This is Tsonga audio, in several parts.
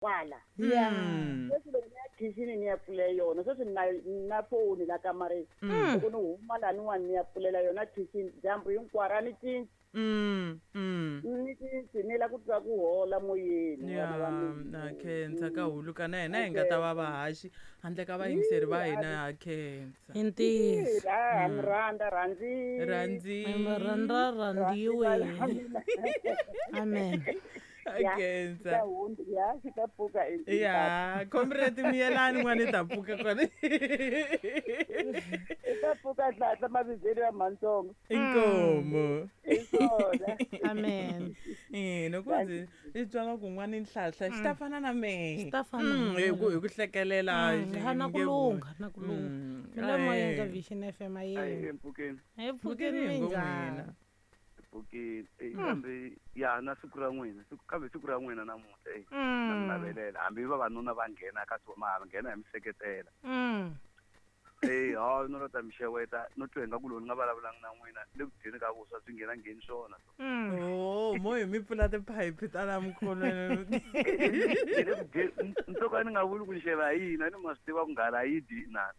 Kwala. Ya. Sweswi loko ni ya khixini ni ya pfulela yona, sweswi ni na ni na foni la kamareni. Loko ni huma laniwani ni ya pfulela yona khixini dyambu hinkwaro a ni cinci. Ni cinci ni la ku twa ku hola moyeni Ya vana va mina. Na khensa ka huluka na hina hi nga ta va vahaxi handle ka vayingiseri va hina, ha khensa. I ntiyiso. Ha mi rhandza rhandzi. Rhandzi. Mi rhandza rhandziwe. Amen. Ha khensa. Ya xi ta pfuka Ya comrade, miyelani n'wana, i ta pfuka kona. I ta pfuka hlahla mavizelo ya matsongo. Inkomo. Hi swona. Amen. Loko ndzi i twa nga ku n'wana nhlahla xi ta fana na mehe. Xi ta fana na Hi ku hlekelela. Ha na ku nge lungha, na ku lungha. Mi le moyeni ka Vision FM, Ayi ayeni. empfukeni. Hi pfukeni. Pfukeni hi ngo Minjhani? n'wina. Empfukeni. Eyi kambe ya na siku ra n'wina, siku kambe siku ra n'wina namuntlha, eyi na mi navelela hambi vavanuna va nghena ka swona ma nghena hi mi seketela. Eyi ha no la ta mi xeweta, no twa ingaku lowu ni nga vulavulanga na n'wina le ku dyeni ka vuswa swi nghena ngheni swona. Oh, mo hi mi pfula tiphayiphi ta la mikolweni. Ni le ku dyeni, ni to ka ni nga vuli ku xeva hi yini, a ni ma swi tiva ku nghala yi dyi inani.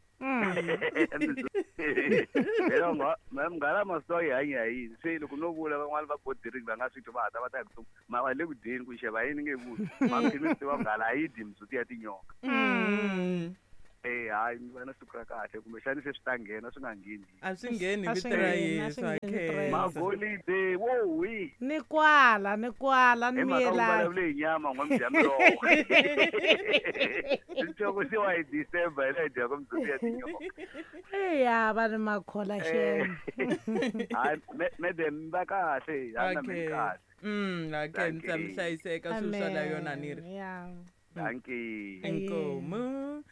Phela munghana ma swi tiva yi hanya hi yini, se loko no vula van'wani va bodiriki va nga swi twi, va hata va ta hi ku ma le ku dyeni ku xeva yini nge vuli ma mi swi tiva ku nghala a yi dyi mindzhuti ya tinyoka. Eh, hayi mi va na siku ra kahle, kumbexani se swi ta nghena swi nga ngheni. A swi ngheni A vito swi ra ngheni, a Yesu. swi Ha ngheni vito ra khensa. Magolide wo wi. Ni kwala, ni kwala, ni Hi mhaka ku miyelani. vulavule hi nyama n'wa mi dya miroho, nhloko se wa hi December hi la hi dyaka mindzhuti ya tinyoka. Eya, va ni makhola xem. Hayi madam, mi va kahle, ha na mi Okay. kahle. Ha khensa, mi Dankie. hlayiseka swilo swa la yona ni ri. Ya. Dankie. Inkomo.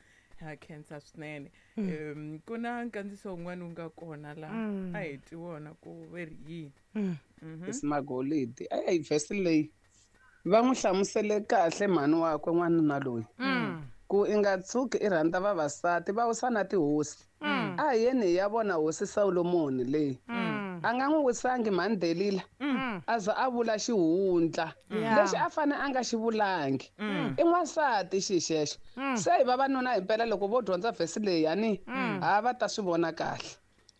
Ha khensa swinene. Ku na nkandziso wun'wana wu nga kona la, a hi twi wona ku ve ri yini. Magolidi eyi vhesi leyi va n'wi hlamusele kahle mhani wakwe n'wanuna loyi ku i nga tshuki i rhandza vavasati va wisa na tihosi. A hi yeni hi ya vona hosi Solomoni leyi a nga n'wi wisangi mhani Delila, a za a vula xihundla lexi a fane a nga xi vulangi. I n'wansati xi xexo. Se hi vavanuna himpela loko vo dyondza vhesi leyi yani, ha va ta swi vona kahle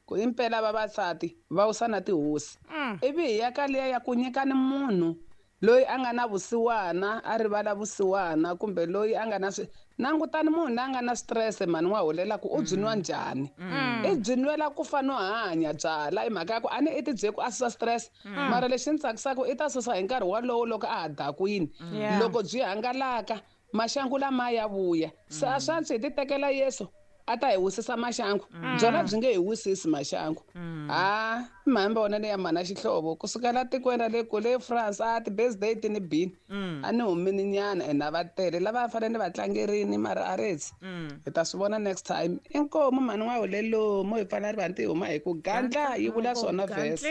ku impela vavasati va wisa na tihosi. Ivi hi ya ka liya ya ku nyikani munhu loyi a nga na vusiwana a rivala vusiwana, kumbe loyi a nga na swi langutani munhu loyi a nga na stress mhani wa holela ku u byi nwa njhani, i byi nwela ku fa no hanya byala. I mhaka ya ku a ni i ti bye ku a susa stress, mara lexi ni tsakisaka i ta susa hi nkarhi walowo loko a ha dakwini. Loko byi hangalaka maxangu lama ya vuya, se a swa antswi hi ti tekela Yesu a ta hi wisisa maxangu, byona byi nge hi wisisi maxangu. Ha mhani vona leya mhana xihlovo kusukela tikweni ra le kule France, a ti-birthday ti ni bini, a ni humini nyana ene a va tele lava fanele ni va tlangerini, mara a retsi hi ta swi vona next time. Inkomu mhani n'wa hulelo mo hi pfala rivanti hi huma hi ku gandla yi vula swona vhesi.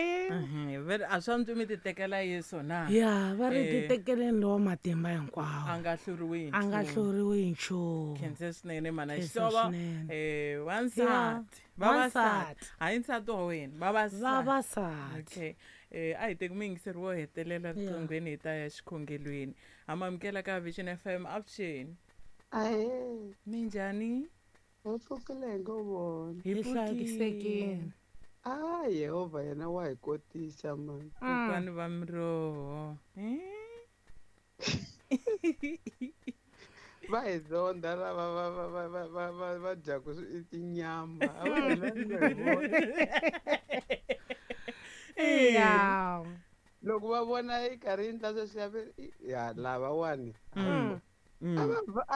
Ve a swa antswi mi ti tekela Yesu na. Ya, va ri titekeleni lowa matimba A hinkwawo nga hluriwi hi a nga nchumu. hluriwi hi nchumu. Khense swinene mana Khensa xihlovo. swinene. Wansati, vavasati, Wansati. hayi nsati wa wena, vavasati. Vavasati. Okay, a hi teki muyingiseri wo hetelela riqinghweni, hi ta ya xikhongelweni. Ha mamukela ka Vision FM, avuxeni. Ahee. Minjhani? Hi pfukile hi ngo vona. Hi Hi hlayisekile. A Yehovha yena wa hi kotisa mani. Kokwani va miroho. Va hi zonda lava va dyaku tinyama. A va hi lavi ku hi vona. Ya. Loko va vona yi karhi yi endla sweswiya va ya lavawani. A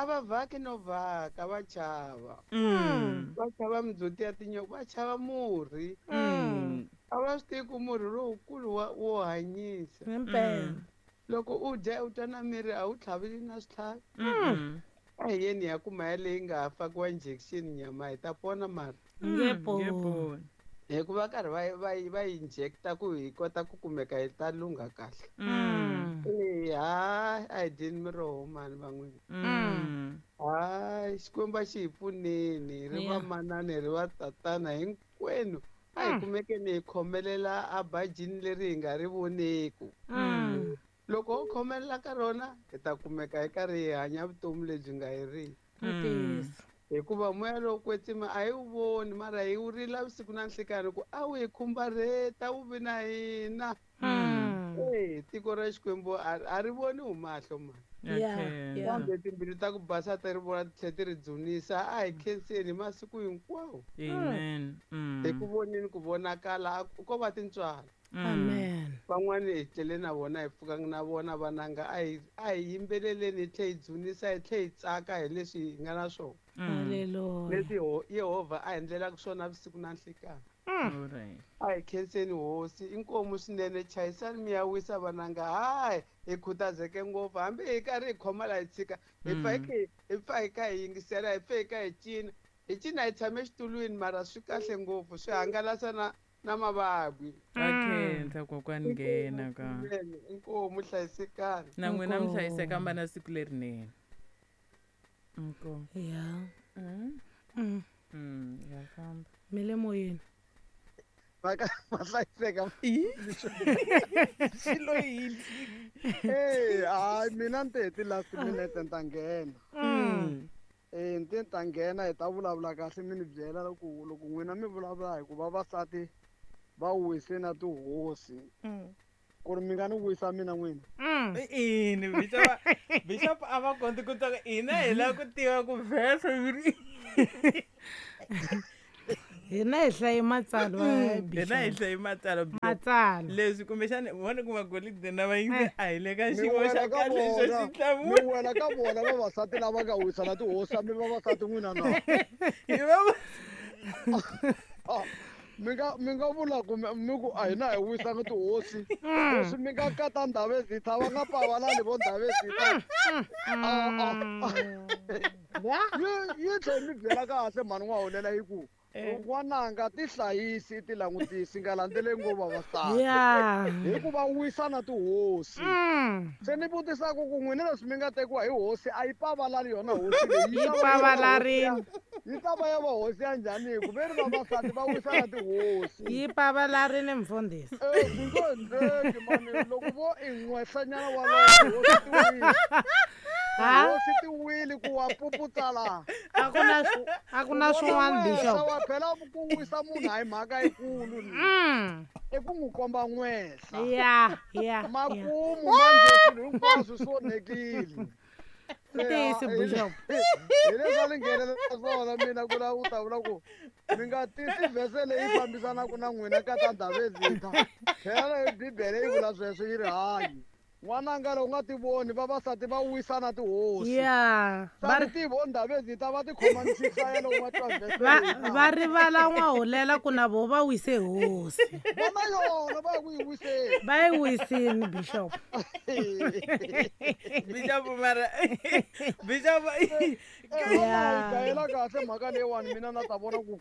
va vhaki no vhaka, va chava. Va chava mindzhuti ya tinyoka, va chava murhi. A va swi tivi ku murhi lowukulu wa wo hanyisa. Himpela. Loko u dya u twa na miri a wu tlhaveli na switlhavi. A hi yeni hi ya kuma yaleyi nga ha fakiwa injection nyama hi ta pona mara. Nge poni. Hikuva karhi va injecta ku hi kota ku kumeka hi ta lungha kahle. Hayi a hi dyeni miroho mani van'wini. Hayi Xikwembu a xi hi pfuneni, hi ri vamanana hi ri va tatana hinkwenu. A hi kumekeni hi khomelela a bajini leri hi nga ri voneku. Loko ho khomelela ka rona hi ta kumeka hi karhi hi hanya vutomi lebyi nga heriki. Hikuva moya lowo kwetsima a hi wu voni mara hi wu rila vusiku na nhlikani ku a wu hi khumbarheta wu vi na hina. Tiko ra Xikwembu a ri voni hi mahlo mani. Kambe timbilu ta ku basa ti ri vona ti tlhela ti ri dzunisa, a hi khenseni hi masiku hinkwawo. Amen. Hi ku voneni ku vonakala ko va tintswalo. Amen. Van'wani hi tlele na vona hi pfukanga na vona vananga, a hi yimbeleleni hi tlhe hi dzunisa hi tlhe hi tsaka hi leswi hi nga na swona. Haleluya. Leswi Yehovha a endlelaka swona vusiku na nhlikani. A hi khenseni hosi, inkomu swinene, chayisani mi ya wisa vananga. Hayi, hi khutazeke ngopfu hambi hi karhi hi khoma laha hi tshika hi pfa hi kha hi yingisela, hi pfa hi kha hi cina, hi cina hi tshame xitulwini, mara swi kahle ngopfu, swi hangalasa na mavabyi. Akhensa kokwani nghena ka. Inkomu hlayisekani. Na n'wina mi hlayiseka mba na siku lerinene. Inkomu. Ya. Ya famba. Mi le moyeni. Va hlayiseka. Xilo yini? Hayi mina ni te hi ti-last minute ni ta nghena. Ni te ni ta nghena hi ta vulavula kahle mi ni byela loko n'wina mi vulavula hi ku vavasati va wise na tihosi. Ku ri mi nga ni wisa mina n'wina. Ini Bishop a va koti ku tsaka hina hi lava ku tiva ku verse yi ri. Hina hi hlaye matsalwa. Hina hi hlaye matsalwa. Matsalwa. Leswi kumbexana vona ku magolide na vayingi a hi le ka xiyimo xa kahle xo xi hlamula. Mi wela ka vona vavasati lava nga wisa na tihosi, mi vavasati n'wina na. Hi va mi nga vula ku mi ku a hina hi wisanga tihosi. Leswi mi nga kata Ndhavezitha va nga pavalani vo Ndhavezitha. Yi tlhe mi byela kahle mhani n'wa holela yi ku n'wananga ti hlayisi ti langutisi nga landzeleli ngopfu vavasati. Hikuva wisa na tihosi. Se ni vutisaka ku n'wina leswi mi nga tekiwa hi hosi a yi pavalali yona hosi leyi. Yi pavalarini. Yi ta va ya va hosi ya njhani hi ku ve ri vavasati va wisa na tihosi. Yi pavalarini mfundhisi. Swi ngo endleki mani loko vo i n'wehlanyana walowo tihosi ti wile. Tihosi ti wile ku wa puputsala. A ku na swin'wana Bishop. Wa phela ku wisa munhu a hi mhaka yikulu ni. I ku n'wi komba n'wehla. Ya. Makumu manje swilo hinkwaswo swi onhekile. Ntiyiso Bishop. Hi leswi a ni nghenelela swona mina ku lava ku ta vula ku mi nga tisi vhese leyi fambisanaka na n'wina ka ta Ndhavezitha. Phela Bibele yi vula sweswo yi ri hayi. N'wananga loko u nga ti voni vavasati va wisa na tihosi. Va ri ti vo Ndhavezitha va ti khoma misisa ya loko va twa vhese. Va rivala n'wahulela ku na vo va wise hosi. Vona yona va ya ku yi wiseni. Va yi wisini Bishop. Bishop mara Bishop yi gayela kahle mhaka leyiwani mina na ta vona ku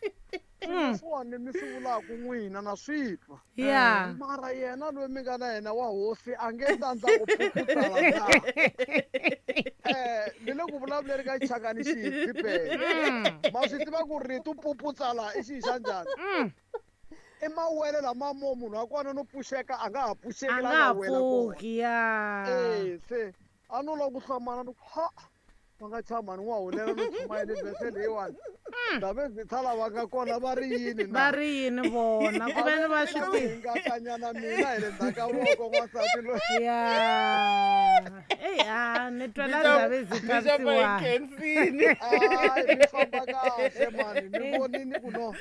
sweswiwani mi swi vulaka n'wina na swi twa. Mara yena loyi mi nga na yena wa hosi a nge tsandza ku phuphutala na. Ni le ku vulavuleni ka xichangani xihi Bibele. Ma swi tiva ku rito phuphutala i xihi xa njhani? I mawele lama mo munhu wa kona no pfuxeka a nga ha pfuxeki la nga wela kona. Se a no lava ku hlamala ni ku ha va nga chama ni n'wa hulela no chumayele vhese leyiwani. Ndhavezitha lava nga kona va ri yini na? Va ri yini vona? Ku ve ni va swi tivi. Hingakanyana mina hi le ndzhaku ka voko n'wansati loyi. Eyi a ni twela Ndhavezitha vusiwana. Hayi mi famba kahle mani ni vonini ku no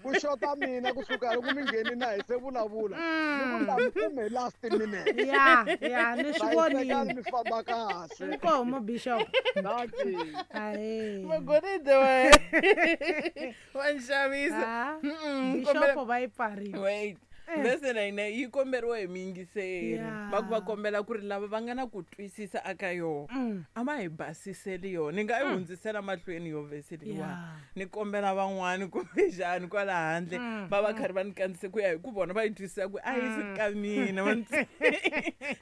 ku xota mina kusuka loko mi ngheni na hi se vulavula. Ni ku la mi kume last minute. Ya ni swi vonini. Mi famba kahle. Inkomu Bishop. Dankie. Magolide wa wa nxavisa. Bishop va yi pfarile. Wait. Vhese na yina yi komberiwa hi miyingiseri. Va ku va kombela ku ri lava va nga na ku twisisa aka yona a va hi basiseli yona. Ni nga yi hundzisela mahlweni yo vhese leyiwani. Ni kombela van'wani kumbexani kwala handle va va karhi va ni kandzise ku ya hi ku vona va yi twisisa ku a yi si ka mina.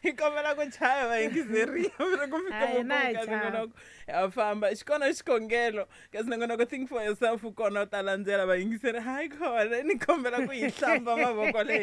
Hi kombela ku chaya vayingiseri ku fika ya famba. Xi kona xikhongelo kasi nongonoko Think for Yourself kona u ta landzela vayingiseri. Hayi khona ni kombela ku yi hlamba mavoko leyi.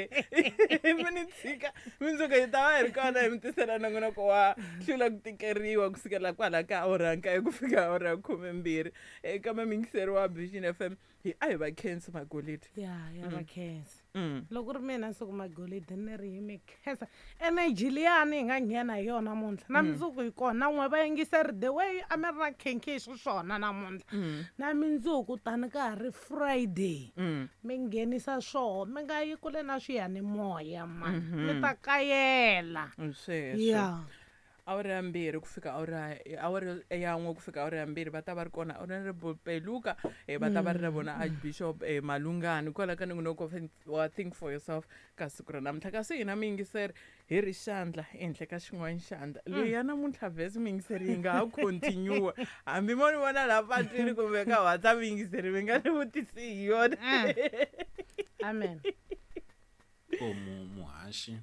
Se mi ni tshika mundzuku hi ta va hi ri kona hi mi tisela nongonoko wa hlula ku tikeriwa kusukela kwala ka awara ya nkaye ku fika awara ya 12 eka miyingiseri wa Vision FM. Hi a hi va khensi Magolidi. Ya ya va khensa. Loko ri mina siku Magolidi ni ri hi mi khensa energy liyani hi nga nghena hi yona namuntlha na mundzuku hi kona na n'we vayingiseri the way a mi ri na khenkhe xiswona namuntlha na mindzuku tani ka ha ri Friday mi nghenisa swoho mi nga yi kule na swiyanimoya mani mi ta kayela. Sweswo. Ya. Awara ya 2 ku fika awara awara ya 1 ku fika awara ya 2 va ta va ri kona Honorable Peluka va ta va ri na vona Archbishop Malungani kwala ka nongonoko wa Think for Yourself ka siku ra namuntlha. Kasi hina miyingiseri hi ri xandla ehenhla ka xin'wana xandla leyi ya namuntlha vhesi miyingiseri yi nga ha continue hambi mo ni vona laha patwini kumbe ka WhatsApp miyingiseri mi nga ni vutisi hi yona. Amen. Komu muhaxi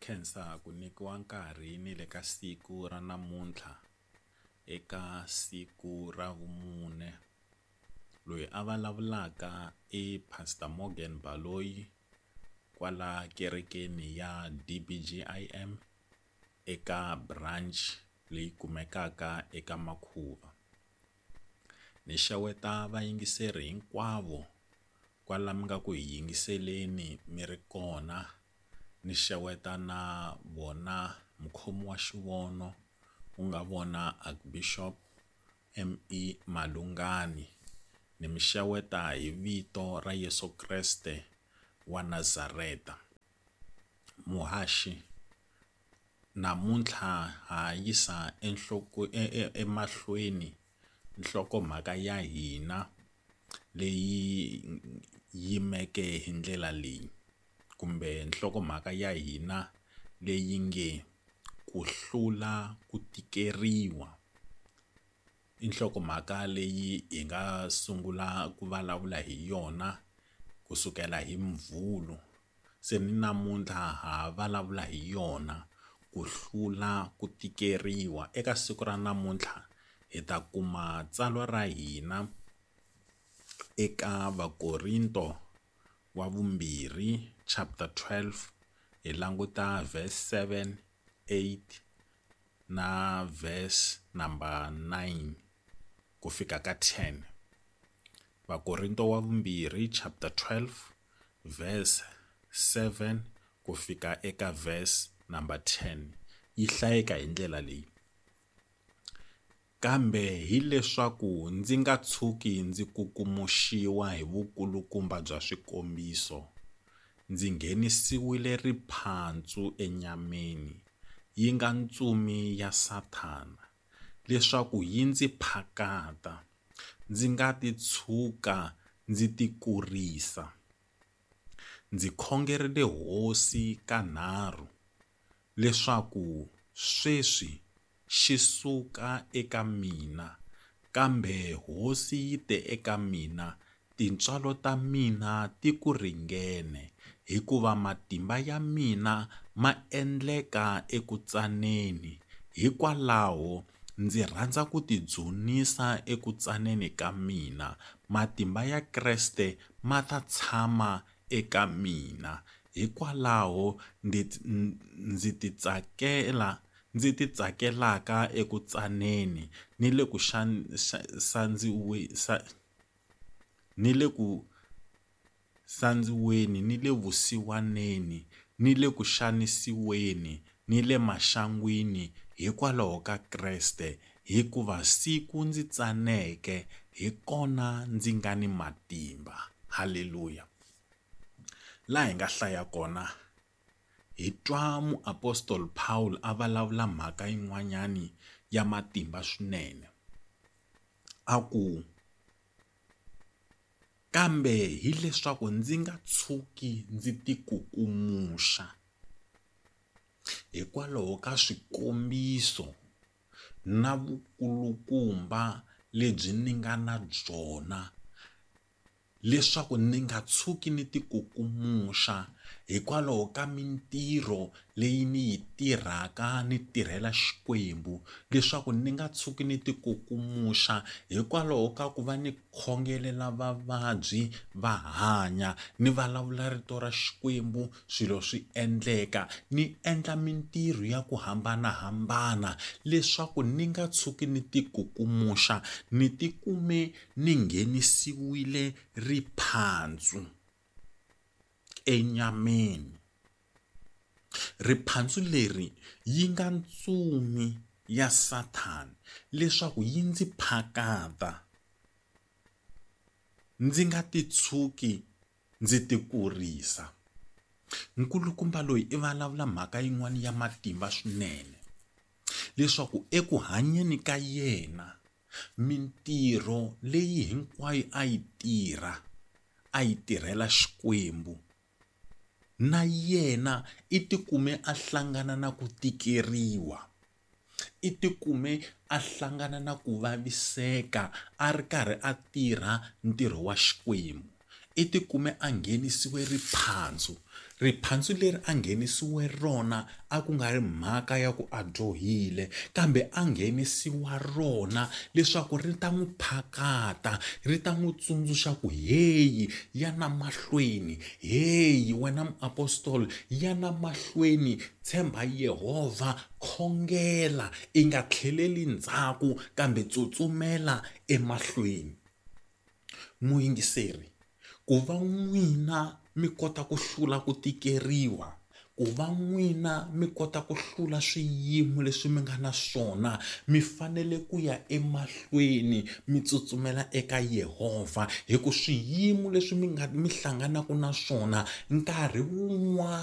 khensa ku nyikiwa nkarhi ni le ka siku ra namuntlha eka siku ra vumune. Loyi a vulavulaka i Pastor Morgan Baloyi kwala kerekeni ya DBGIM eka branch leyi kumekaka eka Makhuva. Ni xeweta vayingiseri hinkwavo kwala mi nga ku hi yingiseleni mi ri kona. Ni xeweta na vona mukhomi wa xivono ku nga vona Archbishop M.E. Malungani. Ni mi xeweta hi vito ra Yesu Kreste wa Nazareta. Muhaxi namuntlha ha yisa emahlweni nhlokomhaka ya hina leyi yimeke hi ndlela leyi kumbe nhlokomhaka ya hina leyi nge ku hlula ku tikeriwa. I nhlokomhaka leyi hi nga sungula ku vulavula hi yona kusukela hi Mvhulu. Se ni namuntlha ha vulavula hi yona ku hlula ku tikeriwa. Eka siku ra namuntlha hi ta kuma tsalwa ra hina eka Vakorinto wa vumbirhi chapter 12 hi languta verse 7, 8 na verse number 9 ku fika ka 10. Vakorinto wa vumbirhi chapter 12 verse 7 ku fika eka verse number 10 yi hlayeka hi ndlela leyi. Kambe hileswaku ndzi nga tshuki ndzi kukumuxiwa hi vukulukumba bya swikombiso, ndzi nghenisiwile riphantsu enyameni, yi nga ntsumi ya Sathana, leswaku yi ndzi phakata, ndzi nga ti tshuka ndzi tikurisa. Ndzi khongerile Hosi kanharhu leswaku sweswi xi suka eka mina, kambe Hosi yi te eka mina, tintswalo ta mina ti ku ringene, hikuva matimba ya mina ma endleka eku tsaneni. Hikwalaho ndzi rhandza ku tidzunisa eku tsaneni ka mina, matimba ya Kreste ma ta tshama eka mina. Hikwalaho ndzi titsakelaka eku tsaneni ni le ku sandziweni ni le vusiwaneni ni le ku xanisiweni ni le maxangwini hikwalaho ka Kreste, hikuva siku ndzi tsaneke hi kona ndzi nga ni matimba. Haleluya. Laha hi nga hlaya kona hi twa muapostoli Paul a vulavula mhaka yin'wanyani ya matimba swinene. A ku kambe hileswaku ndzi nga tshuki ndzi tikukumuxa hikwalaho ka swikombiso na vukulukumba lebyi ni nga na byona, leswaku ni nga tshuki ni tikukumuxa hikwalaho ka mintirho leyi ni yi tirhaka ni tirhela Xikwembu leswaku ni nga tshuki ni tikukumuxa hikwalaho ka ku va ni khongelela vavabyi va hanya ni vulavula rito ra Xikwembu swilo swi endleka ni endla mintirho ya ku hambanahambana leswaku ni nga tshuki ni tikukumuxa ni tikume ni nghenisiwile riphandzu enyameni. Riphandzu leri yi nga ntsumi ya Sathana leswaku yi ndzi phakata ndzi nga ti tshuki ndzi tikurisa. Nkulukumba loyi i vulavula mhaka yin'wana ya matimba swinene leswaku eku hanyeni ka yena mintirho leyi hinkwayo a yi tirha a yi tirhela Xikwembu na yena i tikume a hlangana na ku tikeriwa i tikume a hlangana na ku vaviseka a ri karhi a tirha ntirho wa Xikwembu i tikume a nghenisiwe riphandzu Riphandzu leri a nghenisiwe rona a ku nga ri mhaka ya ku a dyohile, kambe a nghenisiwa rona leswaku ri ta n'wi phakata, ri ta n'wi tsundzuxa ku heyi yana mahlweni, heyi wena muapostola yana mahlweni, tshemba Yehovha, khongela, i nga tlheleli ndzhaku kambe tsutsumela emahlweni. Muyingiseri, ku va n'wina mi kota ku hlula ku tikeriwa, ku va n'wina mi kota ku hlula swiyimo leswi mi nga na swona, mi fanele ku ya emahlweni mi tsutsumela eka Yehovha hi ku swiyimo leswi mi nga mi hlanganaka na swona nkarhi wun'wana.